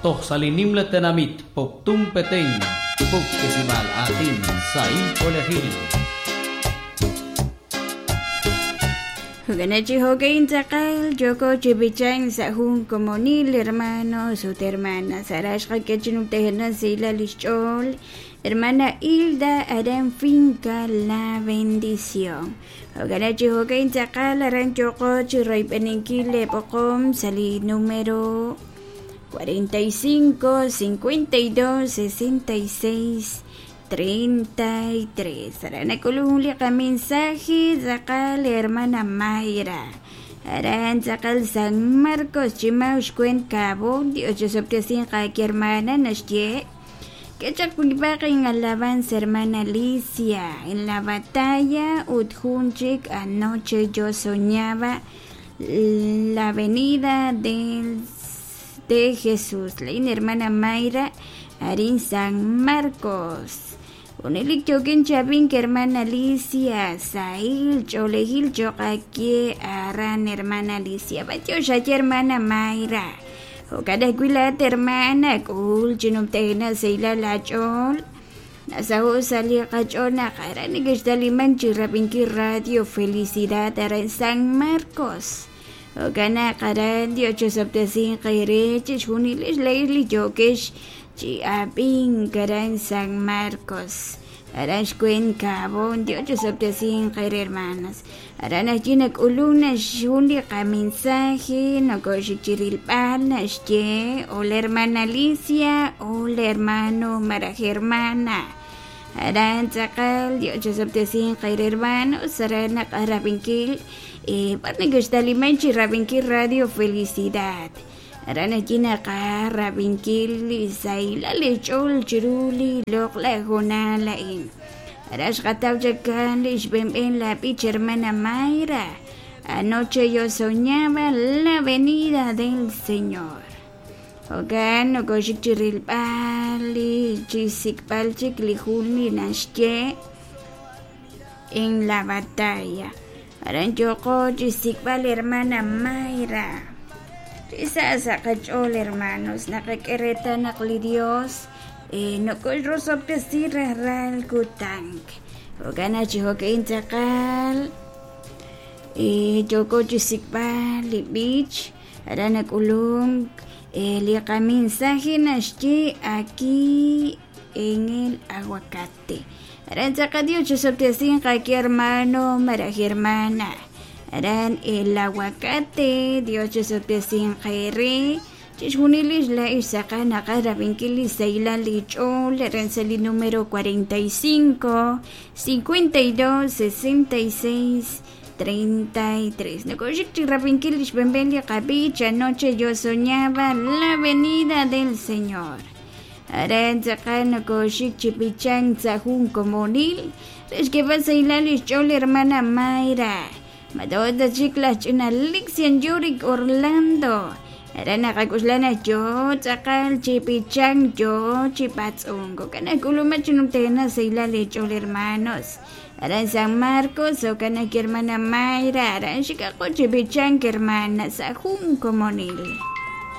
Toj sa' li nimla tenamit Poptún Petén, puktesib'aal aatin sahil ch'oolejil. Jo'kan chi jo'ka'in tz'aqal yooko chi b'ichank sa' jun komonil hermanos ut hermanas aran xqak'e chi numtajenaq sahilal li xch'ool hermana Hilda aran Finca La Bendición. Jo'kan chi jo'ka'in tz'aqal aran yooko chi royb'eninkil leeb'oqom sa' li número 45 52 66 33. Aran nak'ulun jun li qamensaje tz'aqal hermana Mayra. Aran tz'aqal San Marcos Chimau xkwent Cabo. Dios chisob'tesinq aake hermana naxye. K'e chaq wib'aq en alabanza hermana Alicia en la batalla ut jun chik anoche yo soñaba la venida del de Jesús. Lain hermana Mayra arin San Marcos. Junelik yookin chi ab'ink hermana Alicia sahil ch'oolejil cho'q aawe aran hermana Alicia. B'antiox aye hermana Mayra. Jo'kan ajwi' laa'at hermana k'ul chi numtajenaq sahilal aach'ool. Nasaho' sa' li qach'ool naq aran nekextalimank chi rab'inkil Radio Felicidad aran San Marcos. Jo'kan naq aran Dios chosob'tesinq eere chixjunilex laa'ex li yookex chi ab'ink aran San Marcos. Aran xweent Cabo. Dios chosob'tesinq eere hermanas. Aran ajwi' nak'ulunk jun li qamensaje nokoxik chi rilb'al naxye hola hermana Alicia, hola hermano malaj hermana. Aran tz'aqal Dios chosob'tesinq eere hermanos aran naq'aj rab'inkil b'ar nekextalimank chi rab'inkil Radio Felicidad. Aran ajwi' naqaj rab'inkil li sahilal li xch'ool chiru li loq'laj hoonal a'in. Aran xqataw chaq kan li xb'enb'en la b'ich hermana Mayra. Anoche yo soñaba la venida del Señor. Jo'kan nokoxik chi rilb'al li chi sik'b'al chik li jun li naxye en la batalla. Aran yooko chi xsik'b'al hermana Mayra. Risa sa' qach'ool hermanos naqak'e reetal naq li Dios nokoxrosob'tesi rajlal kutan. Jo'kan naq chi jo'ka'in tz'aqal yooko chi xsik'b'al li b'ich aran nak'ulunk li qamensaje naxye aquí en el aguacate. Aran tz'aqal Dios chisob'tesinq aawe hermano malaj hermana. Aran el aguacate Dios chisob'tesinq eere chixjunilex laa'ex tz'aqal naqaj rab'inkil li sahilal li ch'ool aran sa' li número 45 52 66 33. Nokoxik chi rab'inkil li xb'enb'en li qab'ich anoche yo soñaba la venida del Señor. Aran tz'aqal nokoxik chi b'ichank sa' jun komonil re xk'eeb'al sahilal li xch'ool hermana Mayra. Madota chik laj ch'ina Lixian Yurik Orlando. Aran naqak'uxla naq yo tz'aqal chi b'ichank yo chi b'atz'unk. Jo'kan naq k'ulumak chi numtajenaq sahilal li xch'ool hermanos. Aran San Marcos, jo'kan naq hermana Mayra aran xikaqo chi b'ichank hermana sa' jun komonil.